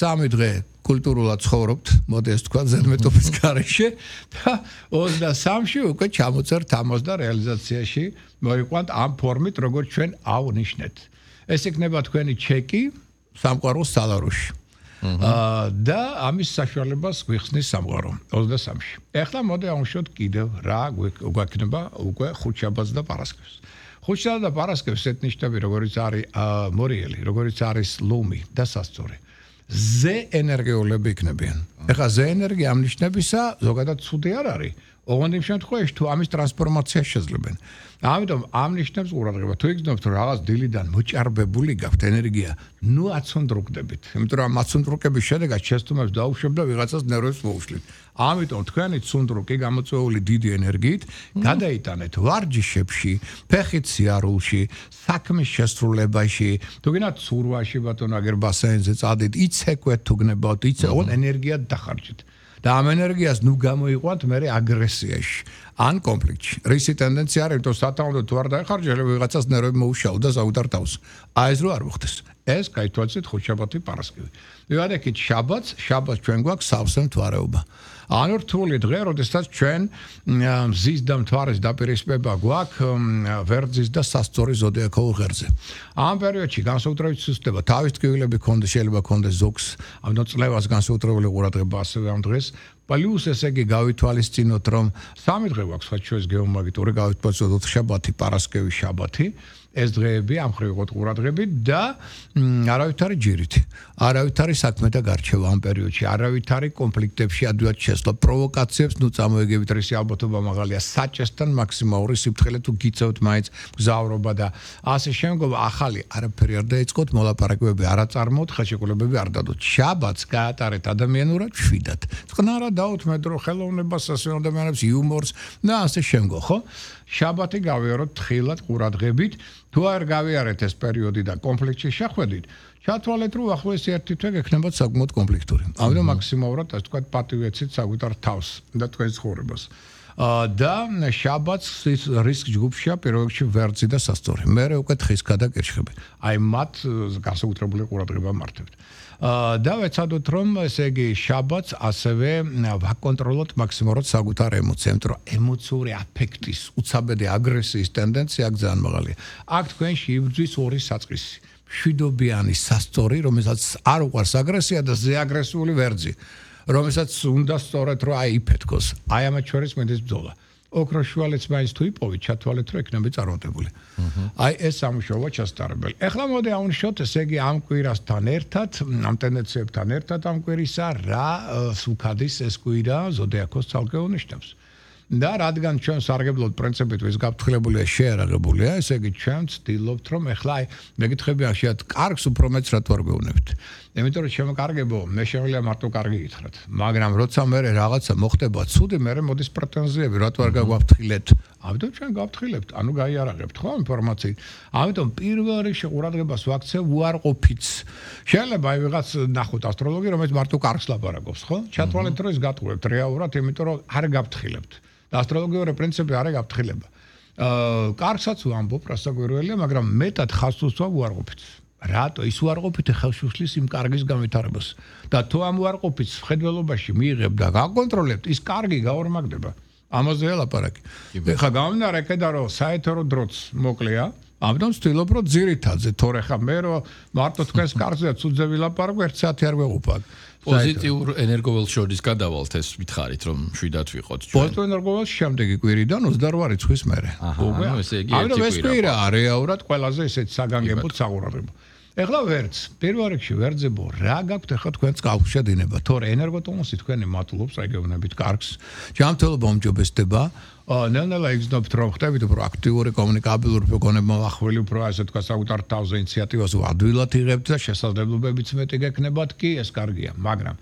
23 დღე კულტურულად ცხოვრობთ, მოდი ეს თქვა ზედმეტობის გარეშე და 23-ში უკვე ჩამოწერთ ამას და რეალიზაციაში მოიყვანთ ამ ფორმით, როგორც ჩვენ ავნიშნეთ. ეს იქნება თქვენი ჩეკი სამყაროს სალაროში. და ამის საშუალებას გვიხსნის სამყარო 23-ში. ეხლა მოდი ავუშვოთ კიდევ რა გვექნება უკვე ხუთშაბათს და პარასკევს. ხუთშაბათს და პარასკევს ეთნიშნები როგორც არის მორიელი, როგორც არის ლომი და სასწორი. ზე ენერგიულები იქნებიან. ეხლა ზე ენერგია ამ ნიშნებისა ზოგადად ცუდი არ არის. ოღონდ იმ შემთხვევაში თუ ამის ტრანსფორმაცია შეძლებენ. ამიტომ ამ ნიშნებს ყურადღება თუ იგრძნობთ რომ რაღაც დილიდან მოჭარბებული გაქვთ ენერგია, ნუ აცუნდრუკდებით. იმიტომ რომ აცუნდრუკების შედეგად შეცდომებს დაუშვებთ და ვიღაცას ნერვებს მოუშვით. ამიტომ თქვენი ცუნდრუკი გამოწვეული დიდი ენერგიით გადაიტანეთ ვარჯიშებში, ფეხით სიარულში, საქმის შესრულებაში, თუ გინდათ ცურვაში ბატონო აგერ ბასეინზე წადით, იცეკვეთ თუ გნებავთ, იცეკვეთ ენერგია დახარჯეთ. და ამ ენერგიას ნუ გამოიყვანთ მე აგრესიაში ან კონფლიქტში. რისი ტენდენცია არის, რომ სათანადო თუ არ დაეხარჯე, ვიღაცას ნერვები მოუშავ და საუდარ თავს. აი ეს რო არ მოხდეს. ეს გაითვალისწინეთ ხუთშაბათი პარასკევი. მივადექით შაბათს ჩვენ გვაქვს სავსე მთვარეობა. ანუ რთული დღე, როდესაც ჩვენ მზის და მთვარის დაპირისპება გვაქვს ვერძის და სასწორის ზოდიაქოურ ღერზე. ამ პერიოდში განსაკუთრებით სუსტდება თავის ტკივილები ქონდეს, შეიძლება ქონდეს ზოგს, ამიტომ წლევას განსაკუთრებული ყურადღება ასევე ამ დღეს. პლუს ესე იგი გავითვალისწინოთ, რომ 3 დღე გვაქვს საჩუეს გეომაგნიტური გავითვალისწინოთ შაბათი, პარასკევი, შაბათი. ეს დღეები ამ ხრივ იყოთ ყურადღებით და არავითარი ჯირით, არავითარი საქმე და გარჩევა ამ პერიოდში, არავითარი კონფლიქტებში ადვილად შესვლა, პროვოკაციებს ნუ წამოეგებით, რისი ალბათობა მაღალია, საჭესთან მაქსიმალური სიფრთხილე თუ გიწევთ მაინც გზავრობა და ასე შემდგომ ახალი არაფერი არ დაიწყოთ, მოლაპარაკებები არ აწარმოოთ, ხელშეკრულებები არ დადოთ. შაბათს გაატარეთ ადამიანურად შვიდად. წყნარად დაუთმეთ ხელოვნებას, სასწავლო ადამიანებს, იუმორს და ასე შემდგომ, ხო? შაბათი გავიაროთ თხილად ყურადღებით. თუ არ გავიარეთ ეს პერიოდი და კონფლიქტში შეხვედით, ჩათვალეთ რომ ახლოს ერთი თვე გექნებათ საკმაოდ კონფლიქტური. ამიტომ მაქსიმალურად ასე თქვა პატივეცით საკუთარ თავს და თქვენს ცხოვრებას. და შაბათს რისკ ჯგუფშია პირველ რიგში ვერძი და სასწორი. მერე უკვე თხის გადაკირშხები. აი მათ განსაკუთრებული ყურადღება მართებთ. და ვეცადოთ რომ ესე იგი შაბათს ასევე ვაკონტროლოთ მაქსიმალურად საკუთარ ემოციებს, რომ ემოციური აფექტის, უცაბედი აგრესიის ტენდენცია ძალიან მაღალია. აქ თქვენში იბრძვის ორი საწყისი. მშვიდობიანი სასწორი, რომელსაც არ უყვარს აგრესია და ზე აგრესიული ვერძი, რომელსაც უნდა სწორედ რომ აიფეთქოს. აი ამათ შორის მედის ბრძოლა. ოქროშუალეც მაინც თუ იპოვით, ჩათვალეთ რომ ექნები წარმატებული. აი ეს სამუშაოა ჩასტარებელი. ეხლა მოდი ავნიშოთ, ესე იგი ამ კვირასთან ერთად, ამ ტენდენციებთან ერთად ამ კვირისა რა სუქადის ეს კვირა ზოდიაქოს ცალკე უნიშნავს. და რადგან ჩვენ სარგებლობთ პრინციპით ვის გაფრთხილებულია შეერაღებულია, ესე იგი ჩვენ ვცდილობთ რომ ეხლა აი მეკითხები ახშიათ კარგს უფრო მეც რა თუ არ გვეუბნებით. იმიტომ რომ შემოკარგებო, მე შემიძლია მარტო კარგი გითხრათ, მაგრამ როცა მე რაღაცა მოხდება ცუდი, მე მოდის პრეტენზიები, რა თუ არ გაგვაფრთხილეთ. ამიტომ ჩვენ გავფრთხილებთ, ანუ გაიარაღებთ ხო ინფორმაციით. ამიტომ პირველ რიგში ყურადღებას ვაქცევ უარყოფით. შეიძლება აი ვიღაც ნახოთ ასტროლოგი, რომელიც მარტო კარგს ლაპარაკობს, ხო? ჩათვალეთ რომ ის გატყუებთ რეალურად, იმიტომ რომ არ გავფრთხილებთ. ასტროლოგიური პრინციპი არ გაფრთხილება. კარგსაც ვამბობ, რასაკვირველია, მაგრამ მეტად ხაზს უსვა უარყოფით. რატო ის უარყოფით ხელშუშლის იმ კარგის განვითარებას და თუ ამ უარყოფით ხედველობაში მიიღებ და გაკონტროლებთ, ის კარგი გაორმაგდება. ამაზე ელაპარაკი. ეხლა გამომდინარე იქიდან რომ საეთერო დროც მოკლეა, ამიტომ ვცდილობ რომ ძირითადზე თორე ხა მე რომ მარტო თქვენს კარგზე ცუდზე ვილაპარაკო 1 საათი არ ვეღუპავ. პოზიტიურ ენერგოველს შორის გადავალთ ეს ვითხარით რომ შვიდად ვიყოთ ჩვენ. პოზიტიურ ენერგოველს შემდეგი კვირიდან 28 რიცხვის მერე. ანუ ესე იგი ამიტომ ეს კვირა რეალურად ყველაზე ესეთ საგანგებოდ საყურადღებო. ეხლა ვერც, პირველ რიგში ვერძებო, რა გაქვთ ეხლა თქვენს კავშირში დინება, თორე ენერგოტონუსი თქვენი მატულობს, რეგიონებით კარგს. ჯანმრთელობა უმჯობესდება. ნელ-ნელა იგრძნობთ რომ ხდებით უფრო აქტიური კომუნიკაბილური გონება ახალი უფრო ასე თქვა საკუთარ თავზე ინიციატივას ადვილად იღებთ და შესაძლებლობებიც მეტი გექნებათ კი ეს კარგია, მაგრამ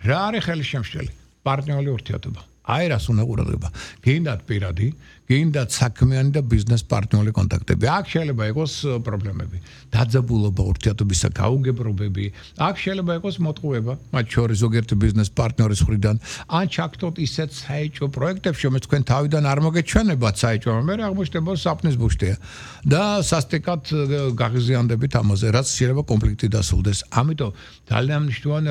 რა არის ხელშემშლელი? პარტნიორული ურთიერთობა. აი რას უნდა ყურადღება. გინდათ პირადი, გინდათ საქმიანი და ბიზნეს პარტნიორული კონტაქტები. აქ შეიძლება იყოს პრობლემები. დაძაბულობა ურთიერთობისა, გაუგებრობები. აქ შეიძლება იყოს მოტყუება, მათ შორის ზოგიერთი ბიზნეს პარტნიორის მხრიდან. ან ჩაგდოთ ისეთ საეჭვო პროექტებში, რომელიც თქვენ თავიდან არ მოგეჩვენებათ საეჭვო, მაგრამ აღმოჩნდება საფნის ბუშტია. და სასტიკად გაღიზიანდებით ამაზე, რაც შეიძლება კონფლიქტი დასრულდეს. ამიტომ ძალიან მნიშვნელოვანია